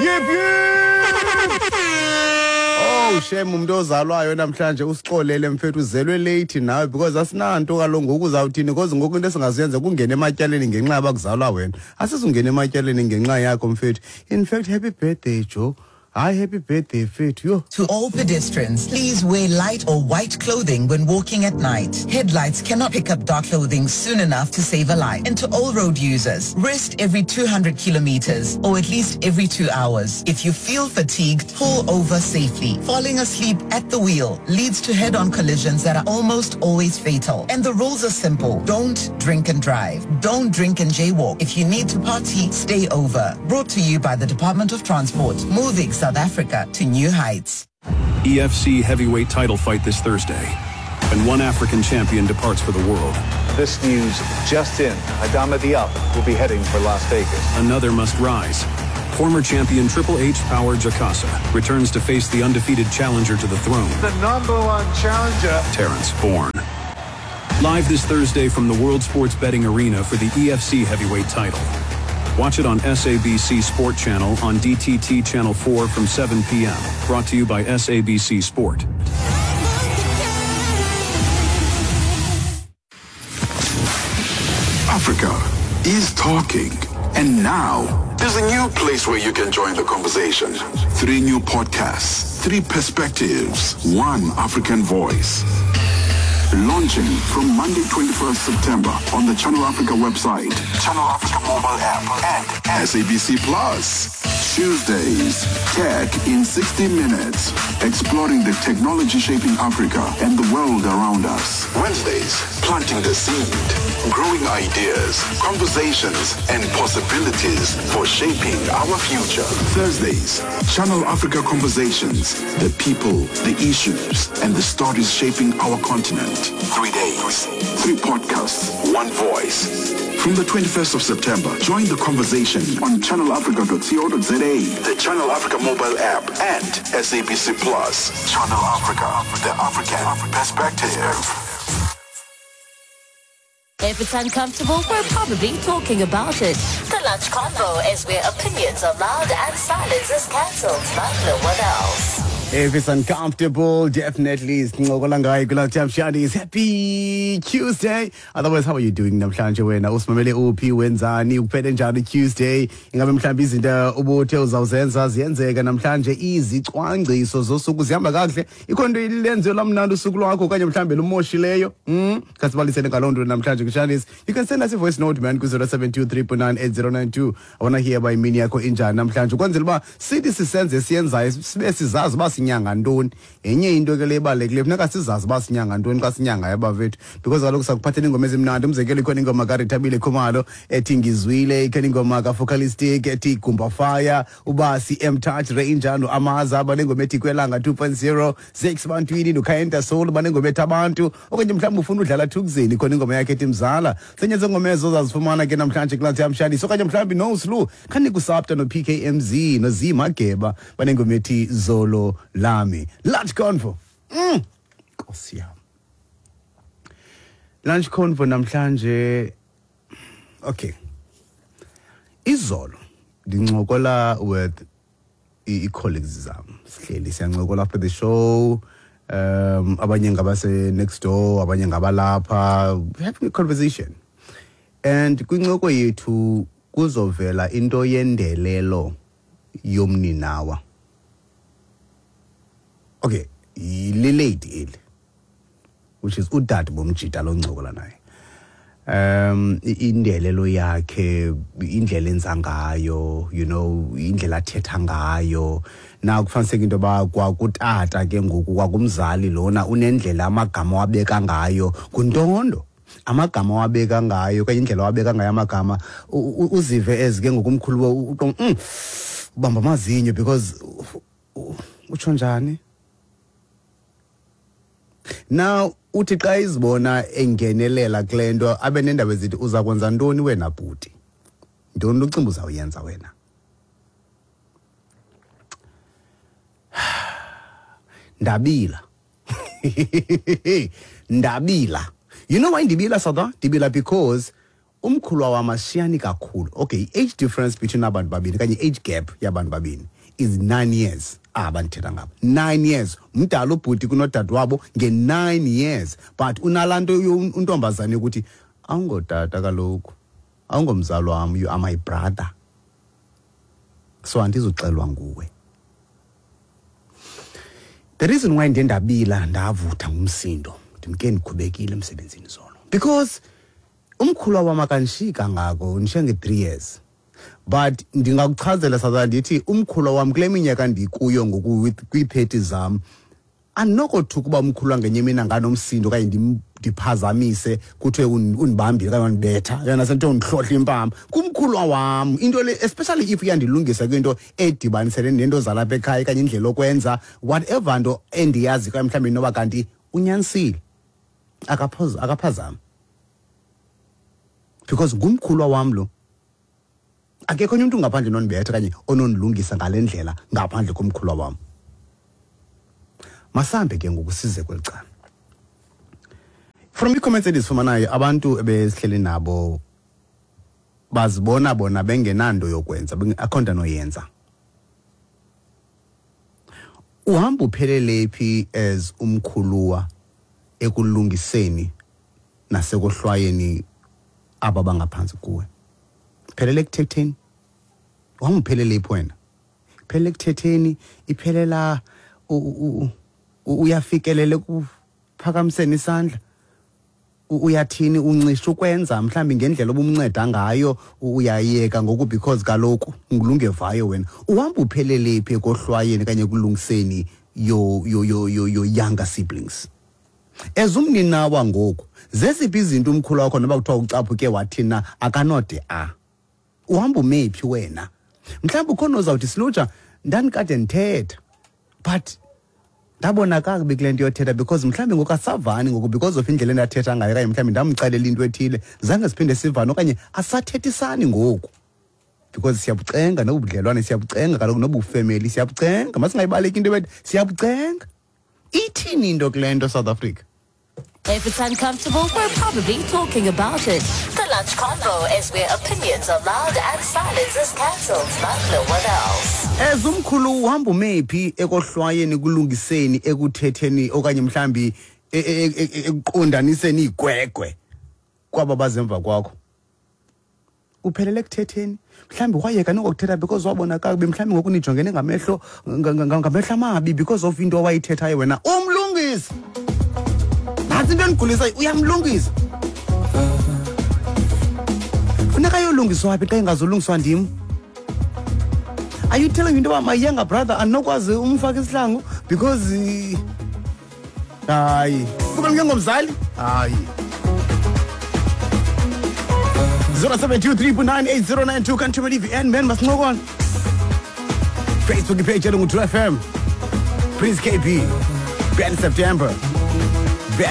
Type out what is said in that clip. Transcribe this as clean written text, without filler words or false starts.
Yip yip. Oh shame, umuntu ozalwayo namhlanje, usixolele mfethu, uzelwe late nawe because asinanto kaloku. Ngoku uzawuthini? Because ngoku into esingaziyenza kungena ematyaleni ngenxa yaba kuzalwa wena. Asizungena ematyaleni ngenxa yakho, mfethu. In fact, happy birthday, Joe. Hayi, happy birthday, mfethu, yho. To all pedestrians, please wear light or white clothing when walking at night. Headlights cannot pick up dark clothing soon enough to save a life. And to all road users, rest every 200 kilometers or at least every 2 hours. If you feel fatigued, pull over safely. Falling asleep at the wheel leads to head-on collisions that are almost always fatal. And the rules are simple. Don't drink and drive. Don't drink and jaywalk. If you need to party, stay over. Brought to you by the Department of Transport, moving South Africa to new heights. EFC heavyweight title fight this Thursday, and one African champion departs for the world. This news just in. Adama Diop will be heading for Las Vegas. Another must rise. Former champion Triple H Power Jakasa returns to face the undefeated challenger to the throne, The number one challenger. Terrence Bourne. Live this Thursday from the World Sports Betting Arena for the EFC heavyweight title. Watch it on SABC Sport Channel on DTT Channel 4 from 7 p.m. Brought to you by SABC Sport. Africa is talking. And now, there's a new place where you can join the conversation. Three new podcasts, three perspectives, one African voice. Launching from Monday, 21st September on the Channel Africa website, Channel Africa mobile app, and SABC Plus. Tuesdays, Tech in 60 Minutes, exploring the technology shaping Africa and the world around us. Wednesdays, planting the seed, growing ideas, conversations, and possibilities for shaping our future. Thursdays, Channel Africa Conversations, the people, the issues, and the stories shaping our continent. 3 days, three podcasts, one voice. From the 21st of September, join the conversation on channelafrica.co.za, the Channel Africa mobile app, and SABC Plus. Channel Africa, the African perspective. If it's uncomfortable, we're probably talking about it. The Lunch Convo is where opinions are loud and silence is cancelled like no one else. If it's uncomfortable, definitely sincokola ngayo kula Shandis. Happy Tuesday. Otherwise, how are you doing namhlanje wena? Usimamele uphi, wenzani, uphele njani Tuesday? Ingabe mhlawumbi izinto ubuthe uzawuzenza ziyenzeka namhlanje? Izicwangciso zosuku zihamba kakuhle? Ikho nto ilenze lamnandi usuku lwakho okanye mhlawumbi lumoshileyo? Khasibalisene ngaloo nto namhlanje kuShandis. You can send us a voice note, man, ku-072 I wanna hear uba imini yakho injani namhlanje, ukwenzela uba sithi sisenze siyenzayo sibe sizazi uba sinyanga ntoni. Yenye into ke le ibalulekileyo, funeka sizazi uba sinyanga ntoni xa sinyangayo, abafethu, because kaloku sakuphathela iingoma ezimnandi. Umzekelo, ikhona ingoma kaRithabile Khumalo ethi "Ngizwile", ikhona ingoma kaFocalistic ethi "Gumba Fire", uba C M Touch Ranger noAmaza banengoma ethi "Kwelanga 2.0", Six Bantwini noKhayenta Soul banengoma ethi "Abantu", okanye mhlawumbi ufuna udlala Thukzini, ikhona ingoma yakhe ethi "Mzala". Senye zengoma ezo zazifumana ke namhlanje kulaa yamshandisi, okanye mhlawumbi noSlu khanikuSapta no-PKMZ noZ Mageba banengoma ethi "Zolo Lami". Lunch Convo, Nkosi yam, Lunch Convo namhlanje. Okay, izolo ndincokola with i-colleagues zam, sihleli siyancokola after the show, abanye ngabase next door, abanye ngabalapha, having a conversation, and kwincoko yethu kuzovela into yendelelo yomninawa. Okay, yile lady eli, which is udade bomjita loncokola naye, indelelo yakhe, indlela enza ngayo, indlela athetha ngayo. Na kufaniseka into yoba kwakutata ke ngoku, kwakumzali lona, unendlela amagama wabeka ngayo, nguntondo amagama wabeka ngayo okanye indlela wabeka ngayo amagama, uzive ezi ke ngokumkhulu ubamba amazinyo because utsho njani. Now uthi xa izibona engenelela kule nto, abe nendaba ezithi, "Uza kwenza ntoni wena, bhuti? Ntoni ucinga uzawuyenza wena?" Ndabila, ndabila. You know why ndibila, Sada? Ndibila because Umkhulwa wam asishiyani kakhulu. Okay, i-age difference between abantu babini okanye i-age gap yabantu babini is 9 years. Aba ndithetha ngabo 9 years, mdala ubhuti kunodade wabo nge-9 years, but unalaa nto untombazane yokuthi awungotata kaloku, awungomzali wam, you are my brother, so andizuxelwa nguwe. The reason why ndiye ndabila, ndavutha ngumsindo, ndimke ndikhubekile emsebenzini zolo, because umkhulwa wam akanishiyi kangako, ndishiya nge-3 years, but ndingakuchazela saza ndithi umkhulwa wam kule minyaka ndikuyo ngoku kwii-30 zam, andinokothuka uba umkhulwa ngenye imini anganomsindo okanye ndiphazamise, kuthiwe undibambile okanye wandibetha, yona sento undihlohla impama kumkhulwa wam. Into le, especially if iyandilungisa kwinto edibanisene nento zalapha ekhaya okanye indlela okwenza whatever nto endiyazi, okanye mhlawumbi noba kanti unyanisile, akaphazami, because ngumkhulwa wam lo. Akekho onye umntu ngaphandle nondibetha okanye onondilungisa ngale ndlela ngaphandle komkhulwa wam. Masambe ke ngoku size kweli cala. From ii-comments endizifumanayo, abantu ebesihleli nabo bazibona bona bengenanto yokwenza, akho nto anoyenza. Uhamba uphelele phi as umkhuluwa ekulungiseni nasekohlwayeni aba bangaphantsi kuwe? Phelele ekuthetheni? Uhamba uphelele phi wena? Phelele ekuthetheni? Iphelela uyafikelela ekuphakamiseni isandla? Uyathini, uncisha ukwenza mhlawumbi ngendlela obumnceda ngayo, uyayeka ngoku because kaloku ngulungevayo wena? Uhamba uphelele phi ekohlwayeni okanye ekulungiseni your younger siblings as umninawa ngoku? Zeziphi izinto umkhulu wakho, noba kuthiwa ucaphuke wathina, akanode a uhamba umephi wena? Mhlawumbi ukhona ozawuthi, "Silutsha, ndandikade ndithetha, but ndabona kakubi kule nto yothetha, because mhlawumbi ngoku asavani ngoku because of indlela endathetha ngayo, okanye mhlawumbi ndamxelela into ethile, zange siphinde sivane, okanye asathethisani ngoku because siyabucenga nobudlelwane, siyabucenga kaloku nobufemeli, siyabucenga." Masingayibaleki into ebethi siyabucenga. Ithini into kule nto, South Africa? If it's uncomfortable, we're probably talking about it. The Lunch Convo is where opinions are loud and silence is cancelled like no one else. As umkhulu, uhamba umephi ekohlwayeni, kulungiseni, ekuthetheni, okanye mhlambi ekuqondaniseni igwegwe kwaba bazemva kwakho? Uphelele ekuthetheni? Mhlawumbi wayeka nokuthetha because wabona kakubi, mhlawumbi ngoku nijongene ngamehlo amabi because of into owayithethayo wena. Umlungisi, nantsi into endigulisayo, uyamlungisa, funeka ayolungiswa phi xa ingazolungiswa ndim? Are you telling me into yoba my younger brother andinokwazi umfaka isihlangu because hayi, kuba ngengomzali? Hayi. 0723980092 kanthumela i-VN man, masincokole. Facebook ipage yalo ngu-2 FM. Prince KB, Ben September.